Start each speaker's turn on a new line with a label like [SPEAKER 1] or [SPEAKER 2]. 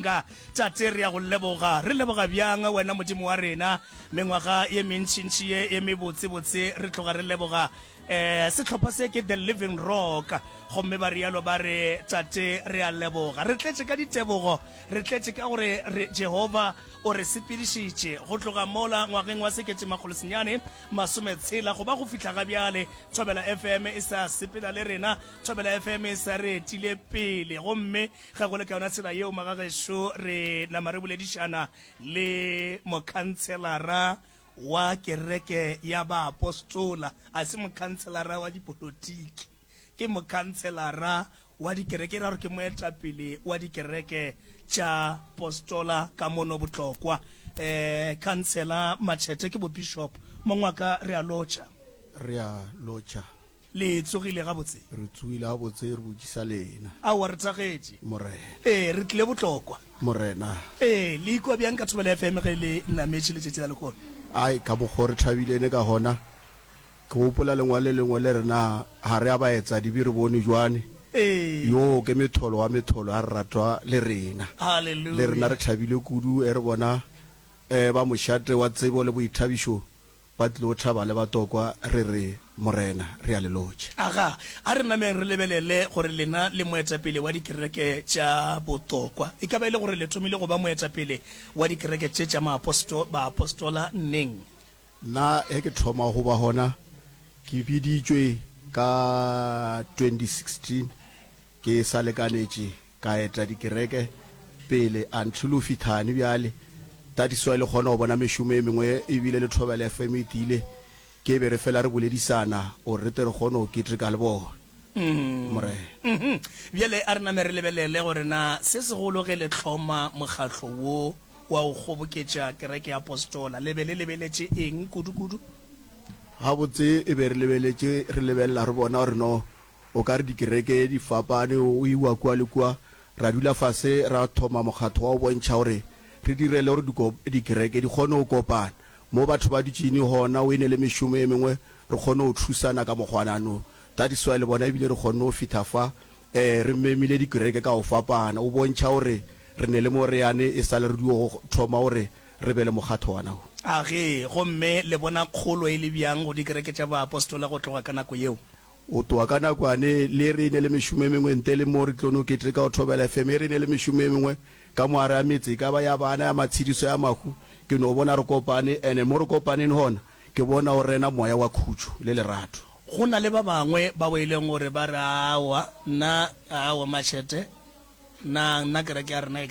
[SPEAKER 1] Ka, Tate, re a Go leboga. Re leboga bjang Wena, Modimo wa rena, mengwaga ye mentšintši ye ye mebotsebotse. Re tloga re leboga. Eh, sehlopha se ke The Living Rock. Gomme ba rialo ba re, Tate, re a leboga. Re tletše ka ditebogo. Re tletše ka gore re, Jehova o re sepedišitše go tloga mola ngwageng wa sekete-makgolosenyane masometshela go ba go fihla ga bjale. Thobela FM e sa sepela le rena. Thobela FM e sa re etile pele. Gomme Ge go le ka yona tsela yeo, magagešo, re nama re boledišana le mokhantshelara wa kereke ya baapostola. A se mokhantshelara wa dipolotiki, ke mokhantshelara wa dikereke, e ra gore ke moetapele wa dikereke tša postola ka mono Botlokwa. Um Khansela Matšhete ke bo-bishop. Mong wa ka, re a lotšha.
[SPEAKER 2] Re a lotšha.
[SPEAKER 1] Le tsogile gabotse?
[SPEAKER 2] Re tsogile gabotse, re botšisa lena.
[SPEAKER 1] Aowa, re thagetše.
[SPEAKER 2] Morena.
[SPEAKER 1] Ee, re tlile Botlokwa.
[SPEAKER 2] Morena.
[SPEAKER 1] Ee, le ikwa bjang ka Thobela FM ge le nametše letšatši la lehono?
[SPEAKER 2] Ai, ka mokgo re thabilene ka gona. Ke gopola lengwalo le lengwe le re na ga re a baetsadibe re bone jwane.
[SPEAKER 1] Ee.
[SPEAKER 2] Yoo ke metholo wa metholo a re ratwa le rena.
[SPEAKER 1] Haleluya.
[SPEAKER 2] Le rena re thabile kudu ge re bona ba mošate wa tsebo le boithabišo Ba tlilo thaba le batokwa, re re, Morena, re a le lotšha.
[SPEAKER 1] Aga, a re nameng re lebelele gore lena le moetapele wa dikereke tša botokwa. E ka ba e le gore le thomile go ba moetapele wa dikereke tše tša maaposto, baapostola neng?
[SPEAKER 2] Nna ge ke thoma go ba gona, ke biditšwe ka 2016, ke sa lekanetše Ka eta dikereke pele until o fithane bjale. That is why le kgona go bona mešomo e mengwe ebile le Thobela FM e tiile. Ke be re fela re boledisana gore re tle re kgone go keteka le bona. Morena.
[SPEAKER 1] Bjale a re name re lebelele gore na se segolo ge le hloma mokgatlo wo wa go kgoboketša kereke ya Apostola, le be le lebeletše eng kudu-kudu?
[SPEAKER 2] Gabotse e be re lebeletše, re lebelela re bona gore no O ka re dikereke di fapane, o iwa kua le kua. Ra dula fase ra thoma mokgatho wa go bontšha gore re direle gore dikereke di kgone go kopana. Mo batho ba dutšeng gona, o ene le mešomo e mengwe, re kgone go thusana ka mokgwanano. That is why le bona ebile re kgonne go fihla fa. Re memile dikereke ka go fapana, o bontšha gore re ne le mo re yane e sa le re dio go thoma gore re be le mokgatho wana wo.
[SPEAKER 1] A ge, gomme le bona kgolo e le bjang go dikereke tša baapostola go tloga ka nako yeo?
[SPEAKER 2] O tloga ka nakwane le re ne le mešomo e mengwe ntle le mo re tlo no keteka go Thobela FM e re ne le mešomo e mengwe ka mo gare ga metse e ka ba ya bana, ya matshediso, ya mahu. Ke no bona re kopane and mo re kopaneng gona ke bona go rena moya wa khutšo le lerato.
[SPEAKER 1] Go na le ba bangwe bao e leng gore ba re, Aowa, nna, aowa, Machete, nna, nna kereke ya rena e.